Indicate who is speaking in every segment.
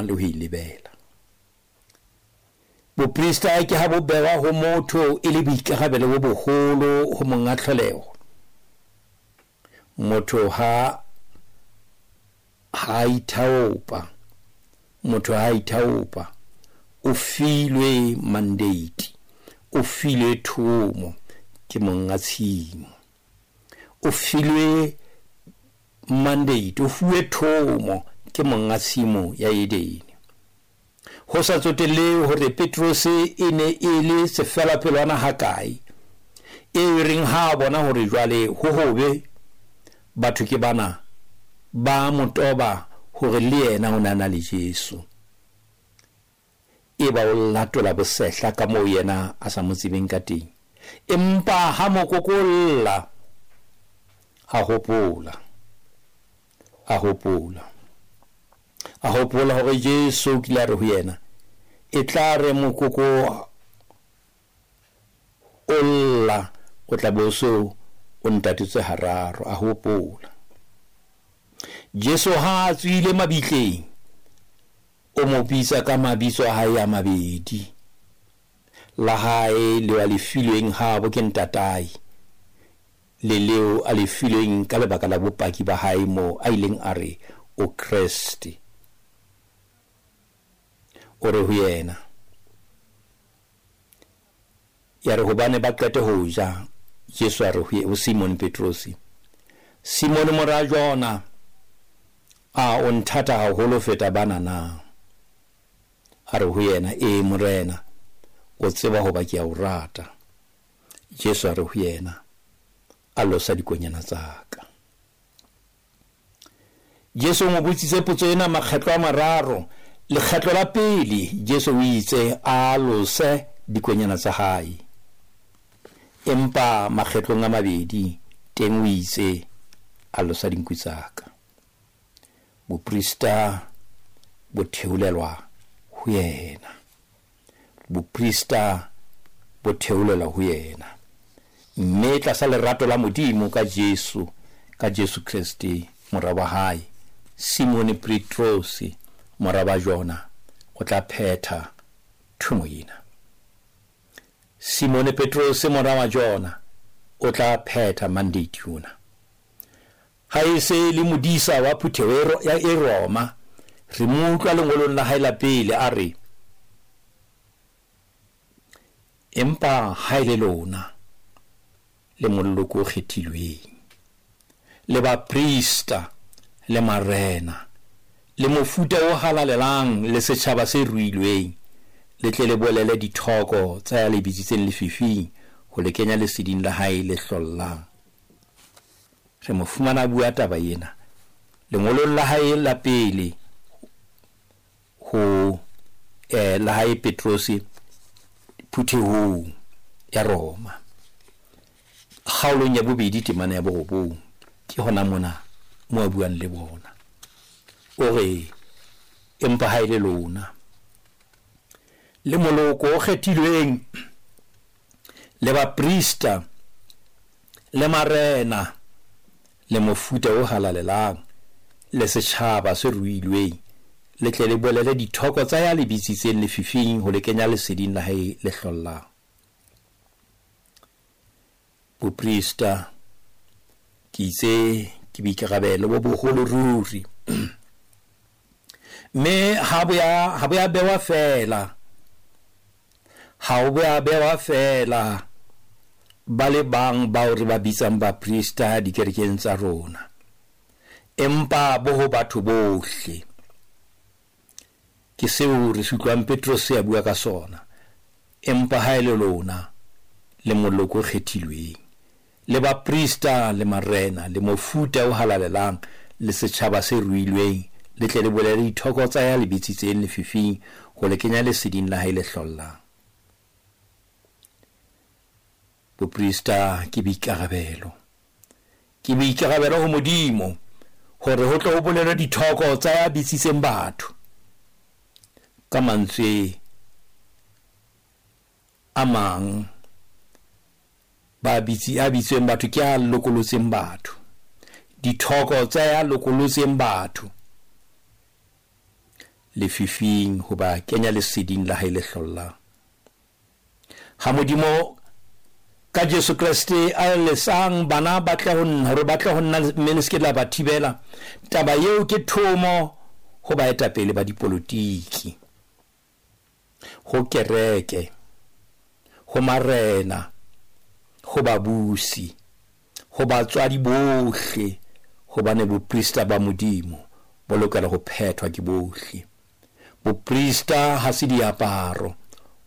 Speaker 1: Le ho e lebela. Boprista ke ha bo bewa ho motho e le boikarabelo bo boholo ho monga tlholeho. Motho ha ha ithaopa, motho ha ithaopa, o filwe mandate, o filwe thomo ke monga tshimo. O filwe mandate, o fuwe thomo ke monga tshimo ya Edene. Ho sa tsotellehe hore Petrose e ne e le sefelapelwana hakae, eo e reng ha a bona hore jwale ho hobe, batho ke bana ba mo toba hore le yena o ne a na le Jesu. Eba o latola bosehla ka moo yena a sa mo tsebeng ka teng. Empa ha mokoko o lla, a hopola, a hopola, a hopola hore Jesu o kile a re ho yena, e tla re mokoko o lla, o tla be o so o ntatetse hararo. A hopola. Jesu ha a tswile mabitleng, o mo bitsa ka mabitso a hae a mabedi, la hae leo a le filweng habo ke ntatae, le leo a le filweng ka lebaka la bopaki ba hae moo a ileng a re o Kreste. O re ho yena, ya re hobane ba qete ho ja, Jesu a re ho Simone Petrosi, Simone mora Jona, a o nthata haholo feta bana na? A re ho yena, ee Morena, o tseba hoba ke a o rata. Jesu a re ho yena, a losa dikonyana tsa ka. Jesu o mo botsitse potso ena makgetlo a mararo. Lekgetlo la pele Jesu o itse a lose dikonyana tsa hae, empa makgetlong a mabedi teng o itse a losa dinku tsa ka. Boprista bo theolelwa ho yena, boprista bo theolelwa ho yena, mme tlasa lerato la Modimo ka Jesu, ka Jesu Kreste mora wa hae, Simone Petrose mora wa Jona o tla phetha thomo ena. Simone Petrose mora wa Jona o tla phetha mandate ona. Ha e se le modisa wa phutheho ya e Roma, re mo utlwa lengolong la hae la pele a re, empa ha e le lona le moloko o kgethilweng, le baprista, le marena, le mofuta o halalelang, le setjhaba se ruilweng, le tle le bolele dithoko tsa ya le bitsitseng lefifing ho le kenya leseding la hae le hlollang. Re mo fumana a bua taba ena lengolong la hae la pele ho la hae Petrose phuthehong ya Roma, kgaolong ya bobedi temana ya borobong. Ke hona mona mo a buang le bona, o re, empa ha e le lona le moloko o kgethilweng, le baprista, le marena, le mofuta o halalelang, le setjhaba se ruilweng, le tle le bolele dithoko tsa ya le bitsitseng lefifing ho le kenya leseding la hae le hlollang. Boprista ke itse ke boikarabelo bo boholo ruri, mme ha bo ya bewa feela, ha bo ya bewa feela ba le bang bao re ba bitsang baprista dikerekeng tsa rona, empa bo ho batho bohle. Ke seo re se utlwang Petrose a bua ka sona, empa ha e le lona le moloko o kgethilweng, le baprista, le marena, le mofuta o halalelang, le setjhaba se ruilweng, le tle le bolele dithoko tsa ya le bitsitseng lefifing ho le kenya leseding la hae le hlollang. Boprista ke boikarabelo, ke boikarabelo ho Modimo hore ho tle ho bolelwe dithoko tsa ya bitsitseng batho. Ka mantswe a mang, ba bitsi a bitsweng batho ke a lokolotseng batho, dithoko tsa ya lokolotseng batho. lefifing ho ba kenya leseding la hae le hlollang. Ha Modimo ka Jesu Kreste a lesang bana ba tle ho nna, hore ba tle ho nna mme le se ke la ba thibela, taba eo ke thomo ho baetapele ba dipolotiki, ho kereke, ho marena, ho babusi, ho batswadi bohle, hobane boprista ba Modimo bo lokela ho phethwa ke bohle. Boprista ha se diaparo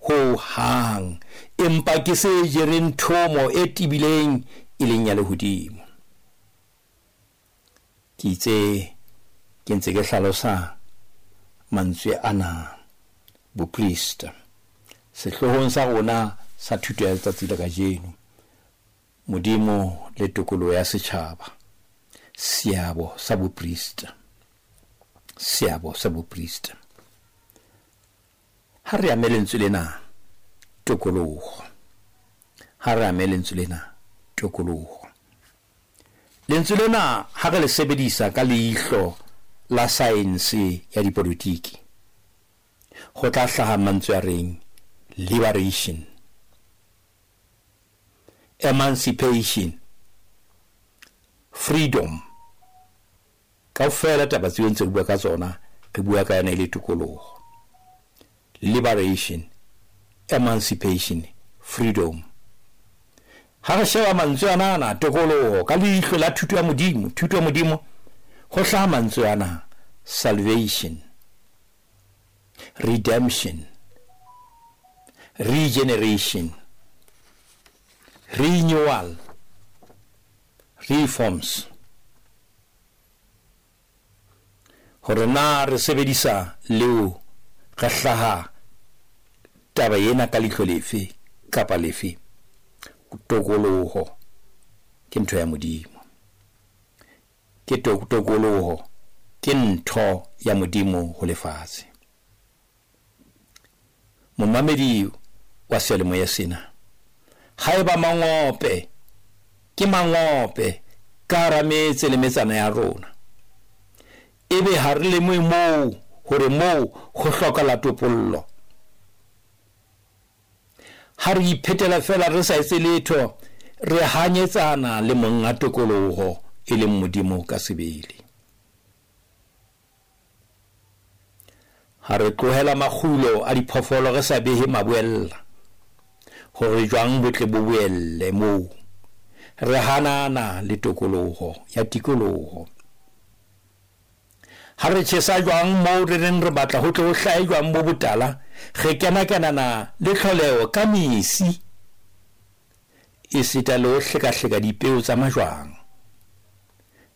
Speaker 1: ho hang, empa ke se jereng thomo e tebileng e leng ya lehodimo. Ke itse ke ntse ke hlalosa mantswe ana boprista sehloohong sa rona sa thuto ya letsatsi la kajeno, Modimo le tokoloho ya setjhaba, seabo sa boprista, seabo sa boprista. Ha re ame lentswe lena tokoloho, ha re ame lentswe lena tokoloho. Lentswe lena ha re le sebedisa ka leihlo la saense ya dipolotiki, ho tla hlaha mantswe a reng liberation, emancipation, freedom. Kaofela taba tseo ntse re bua ka tsona, re bua ka yona e le tokoloho. Liberation, emancipation, freedom. Ha re sheba mantswe ana ana tokoloho ka leihlo la thuto ya Modimo, thuto ya Modimo, ho hlaha mantswe ana salvation, redemption, regeneration, renewal, reforms. Hore na re sebedisa leo re hlaha taba ena ka leihlo lefe kapa lefe, tokoloho ke ntho ya Modimo. Ke tokoloho ke ntho ya Modimo ho lefatshe. Momamedi wa seyalemoya sena, haeba mangope ke mangope ka hara metse le metsana ya rona, ebe ha re lemohe moo hore moo ho hlokahala topollo, ha re iphetela feela re sa etse letho, re hanyetsana le monga tokoloho e leng Modimo ka sebele. Ha re tlohela makgulo a diphoofolo re sa behe maboella, hore jwang bo tle bo boelle moo, re hanana le tokoloho ya tikoloho. Ha re tjhesa jwang moo re reng re batla ho tle ho hlahe jwang bo botala, re kena-kenana le tlholeho ka mesi, esita le ho hlekahleka dipeo tsa majwang.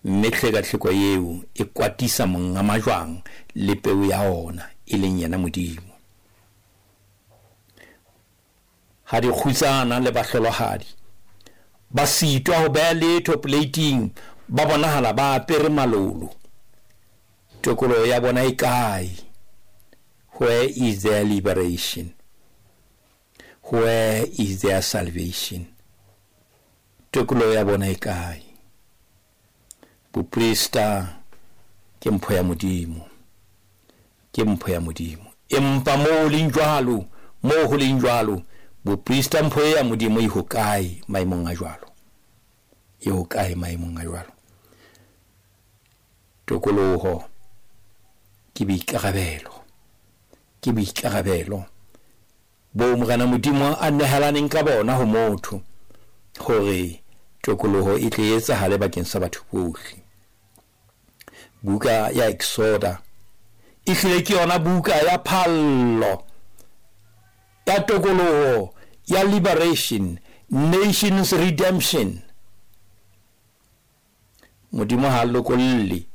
Speaker 1: Mme hlekahleko eo e kwatisa monga majwang le peo ya ona, e leng yena Modimo. Ha dikgutsana le bahlolohadi ba sitwa ho beha letho poleiting, ba bonahala ba apere malolo, tokoloho ya bona e kae? Where is their liberation? Where is their salvation? Tokoloho ya bona e kae? Boprista ke mpho ya Modimo, ke mpho ya Modimo. Empa moo leng jwalo, moo ho leng jwalo, boprista mpho ya Modimo e hokae maemong a jwalo? E hokae maemong a jwalo? Tokoloho ke boikarabelo, ke boikarabelo bo Morena Modimo a nehelaneng ka bona ho motho, hore tokoloho e tle e etsahale bakeng sa batho bohle. Buka ya Exoda e hlile ke yona buka ya phallo ya tokoloho ya liberation, nations redemption. Modimo ha lokolle,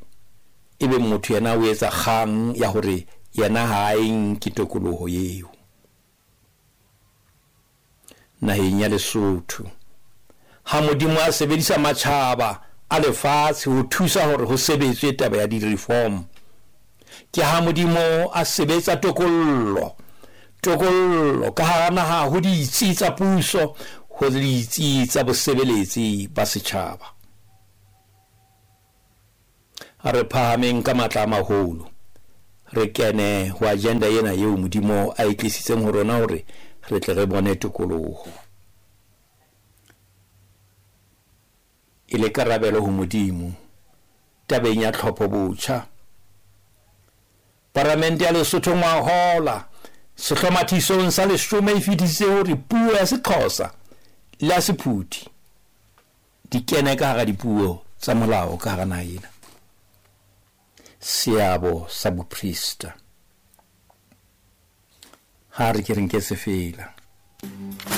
Speaker 1: ebe motho yena o etsa kgang ya hore yena ha a e nke tokoloho eo. Naheng ya Lesotho, ha Modimo a sebedisa matjhaba a lefatshe ho thusa hore ho sebetswe taba ya di-reform, ke ha Modimo a sebetsa tokollo, tokollo ka hara naha ho ditsi tsa puso, ho ditsi tsa bosebeletsi ba setjhaba. A re phahameng ka matla a maholo, re kene ho agenda ena eo Modimo a e tlisitseng ho rona hore re tle re bone tokoloho. E le karabelo ho Modimo tabeng ya tlhopho botjha, Paramente ya Lesotho ngwahola sehlomathisong sa leshome e fetisitse hore puo ya Sexhosa le ya Sephuthi di kene ka hara dipuo tsa molao ka hara naha ena. Seabo sa boprista. Ha re ke re nke sefela.